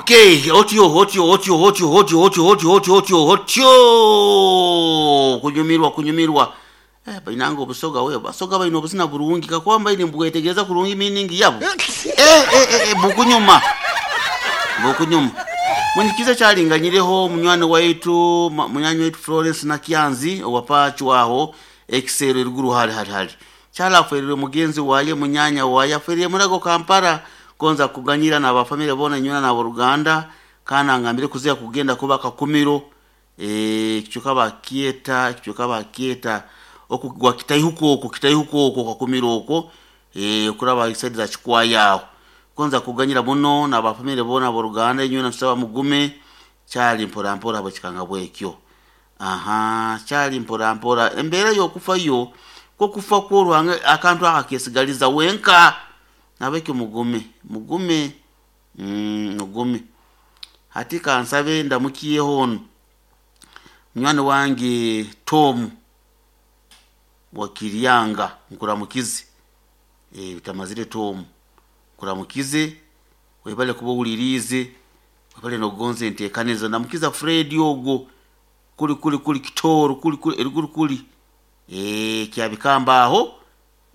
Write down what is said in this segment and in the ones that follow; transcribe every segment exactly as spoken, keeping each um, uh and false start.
Okay, otyo otyo otyo otyo otyo otyo otyo otyo otyo otyo kunyumirwa kunyumirwa. Eh, bainanga obusoga we basoga baina obuzina burungi kakuba mbaire mbwetegereza kurungi meaning yabo. Eh, eh, eh, eh, bukunyuma bukunyuma mwenyikiza kyalinganyireho munywani waitu ma- munyanyi waitu Florence Nakyanzi owapachwaho ekisero eruguru hali hali hali kyalaferire mugenzi waye munyanya waye aferire murago Kampala gonza kuganyira n'abafamire bona nyuna n'aboruganda kana ngambire kuzia kugenda kuba kakumiro eh kichuka bakieta kichuka bakieta okugwa kitaihuko okwo kitaihuko okwo kakumiro okwo eh kuraba isaidi za chikwaya gonza kuganyira muno n'abafamire bona aboruganda nyuna tusaba mugume kyali mpora mpora bwekikanga bwekyo. Aha, kyali mpora mpora embeera y'okufa yo kwokufa kw'oruhanga akantu aka kesigaliza wenka nabekyo mugume mugume mm, mugume. Hati kansabe ndamukiyeho ono munywani wange Tom Wakiryanga nkuramukize. Eh, utamazire Tom nkuramukize webale kuba owuliriize webale nokugonza enteekanizo. Ndamukiza Fred ogwo kuli kuli kuli kitoro kuli kuli eruguru kuli eh kyabikamba aho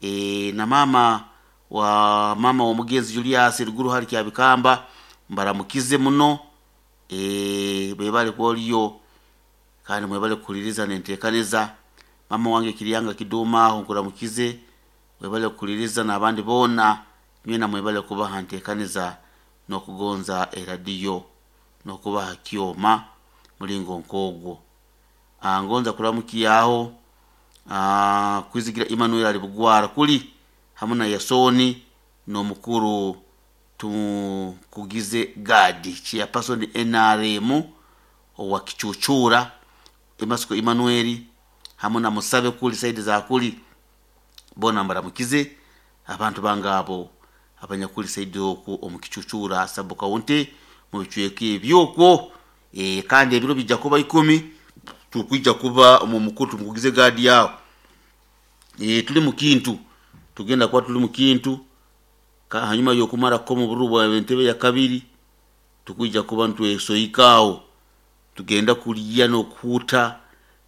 eh na mama wa mama wa mugenzi Julius eruguru hali kyabikamba mbaramukize muno eh bwebale kwoliyo kandi mwebale kukuliriza nenteekaniza. Mama wange Kiryanga Kiduma aho nkuramukize webale kukuliriza n'abandi boona nywena mwebale kubaha nteekaniza n'okugonza eradiyo n'okubaha kyoma mulingo nk'ogwo. Ah, ngonza kuramukiyaho ah, kwizigira Emmanuel ali bugwara kuli hamu na Yasoni n'omukuru tukugize Gadi chairperson N R M owa Kichuchura Emasiko Emmanuel hamu na Musabe kuli saidi za kuli bona mbaramukize abantu bangabo abanyakuli saidi okwo omu Kichuchura sub county mu bicweka ebyokwo. E, kandi ebiro bijja kuba ikumi tukwija kuba omu mukuru tumukugize Gadi yawo. E, tuli mu kintu tugenda kuba tuli mu kintu ka hanyuma y'okumara ko mu bururu bwa entebe ya kabiri tukwija kuba ntwesoyikaawo tugenda kulya n'okuhuta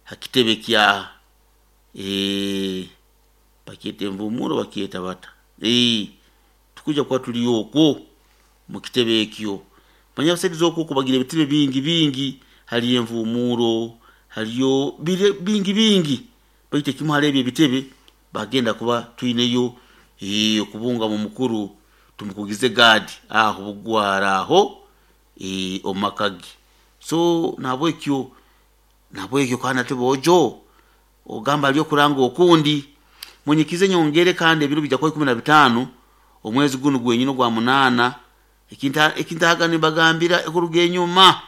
hakitebe kya eh bakyeta envumuro bakyeta bata eh tukwija kuba tuli okwo mu kitebe ekyo. Manya saidi z'okwo kubagira ebitebe bingi bingi haliyo envumuro haliyo bire bingi bingi baitu ekimu hali ebyo ebitebe bagenda kuba twineyo eh okubunga mu mukuru tumukugize Gadi aho bugwara aho eh omakagi. So nabwekyo nabwekyo kandi ate bojo ogamba aliyo kuranga okundi munyikize nyongere kandi ebiro bijja kuba ikumi na bitaano omwezi guno gwenyini ogwa munaana ekinta ekintaga nibagambira okuruga enyuma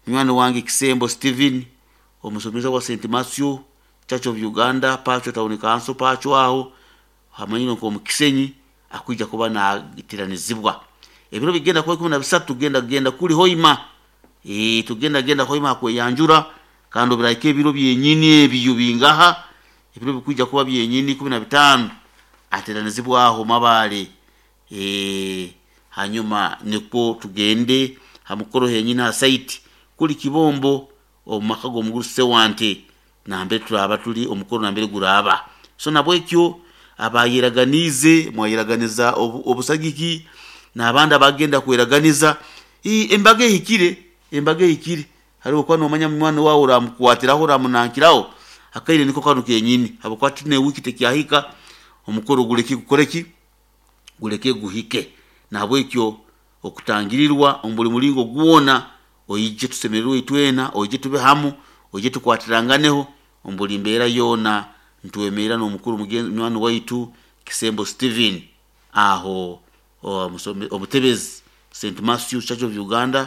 munywani wange Kisembo Steven omusomesa wa Saint Matthew Church of Uganda Pacho Town Council Pacho aho hamanyire nko omukisenyi akwija kuba nagitiranizibwa ebiro bigenda kuba ikumi na bisatu tugenda genda kuli hoima eh tugenda genda hoima kweyanjura kandi obiraike ebiro byenyini ebyo bingaha ebiro bikwija kuba byenyini ikumi na bitaano ateranizibwa aho mabale eh hanyuma niko tugende hamukoro henyini ha site kuli kibombo omumaka g'omuguru Sewante nambere turaba tuli omukoro nambere guraba. So nabwekyo abayeraganize mwayeraganiza obu-, obusagiki n'abandi abagenda kweraganiza embaga ehikire embaga ehikire hariho kuba nomanya munywani wawe oramukwatiraho oramunankiraho akaire niko kanu kenyini habwokuba tine wiki tekyahika omukoro gureke gukoreki gureke guhike. Nabwekyo okutangirirwa omu buli mulingo gwona oije tusemererwe itwena oije tube hamu oije tukwatiranganeho omu buli mbeera yoona ntwemerera n'omukuru mugenzi munywani waitu Kisembo Steven aho omutebezi Saint Matthew Church of Uganda.